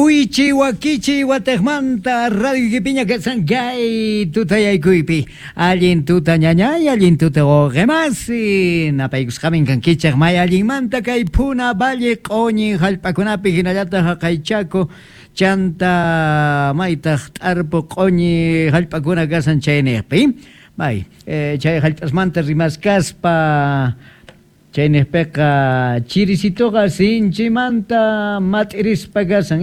Uychi wakichi watejmanta radioykipiña kashan kay tutayaykuypi. Allin tuta ñañay, allin tuta wawqemasi. Napaykusqamin kankichej may allinmanta kay Puna Valle q'oñi hallp'akunapi hinallataq haqay Chaco chanta maytaq t'arpu q'oñi hallp'akuna kashan chayniqpi. May, chay hallp'asmanta rimaskaspa Chaynejpeqa chirisitoqa sinchimanta mat'irispa kashan,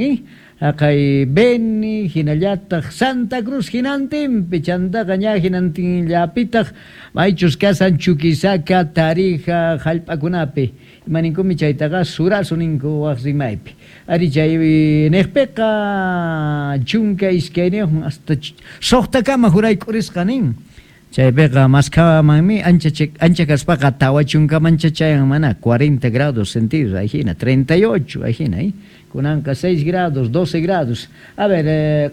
haqay Beni, jinallataj Santa Cruz jinantinpi, chantaqa ña jinantinllapitaj maychus kashan Chuquisaca, Tarija jallp'akunapi. Ima ninkumi chaytaqa surazo ninku waj rimaypi. Ari chaynejpeqa 12 hasta sojtakama jurayk'urisqa nin. Chaypiqa maskhamanmi ancha ancha kaspaqa 40mancha chayan mana 40 grados centígrados ajina 38 ajina eh kunanqa 6 grados 12 grados a ver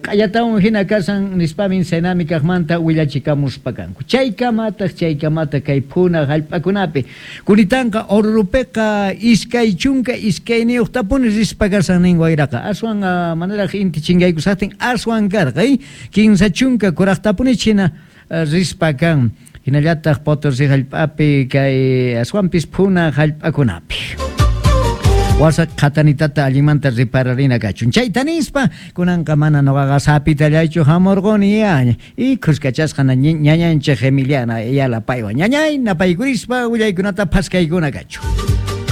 q'allatawan jina kashan nispamin Senami kaqmanta willachikamuspa kanku chaykamataq chaykamataq kay phuna hallp'akunapi kunitanqa Orurupiqa 22tapuni rispa kashan nin wayraqa aswan manaraq inti chinkaykushaqtin aswan karqa eh 30 kuraqtapuni chhina Rispa kan, hinallataq Potosí hallp'api kay aswanpis phuna hallp'akunapi. Wasa qhatanitata allinmanta ripararina kachun. Chayta nispa, kunanqa mana noqaqa sapitallaychu hamurquni ya, y khuskachasqa ñañanchik Emiliana Ayala paywan. Ñañay, napaykurispa willaykunata phaskaykuna kachun.